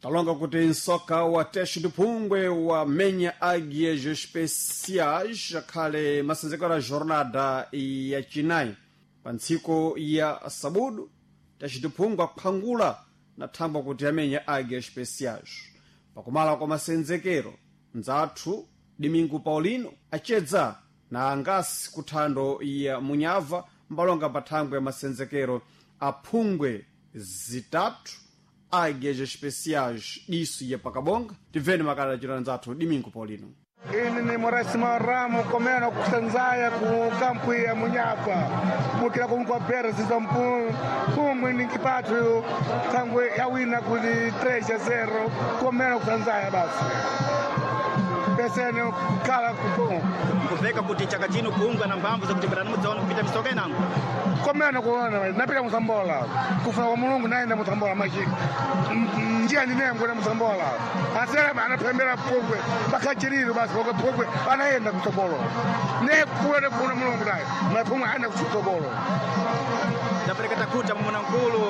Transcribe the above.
Talonga kuti nsoka wa Teste de Phungwe wamenya Águias Especiais akhale masenzekero a jornada ya chinayi pa ntsiku ya sabudu. Teste de Phungwe aphangula na thangwa kuti amenya Águias Especiais pakumala kwa masenzekero. Nzathu Domingo Paulino acedza na angasi kuthando ya Munyava mbalonga pa thangwe ya masenzekero aphungwe 3, Águias Especiais diso ya pakabonga. Tibveni makala achita nzathu Domingo Paulino. Ini ni Morasi Maramu komeno kusanzaya ku kampu ya Munyapa mukila kumkwa pera ziza mpungwe ni kipatu tangwe yawina kuli 3-0 komeno kusanzaya basi pesene kukala kupo. Nkuveka kuti chaka chino kuungwa na mphamvu zakutembera mudzaona kupita misoka inango. Komeno kuona napita musambola kufuna kwa Mulungu naenda musambola machi njia ndinengo na musambola asera anapembera pungwe pakachiriro basi pokwe pungwe anaenda kutsogolo ne kuona kuna Mulungu naye mapungwe aenda kutsogolo. Tapereka takuta mumuna mkulu.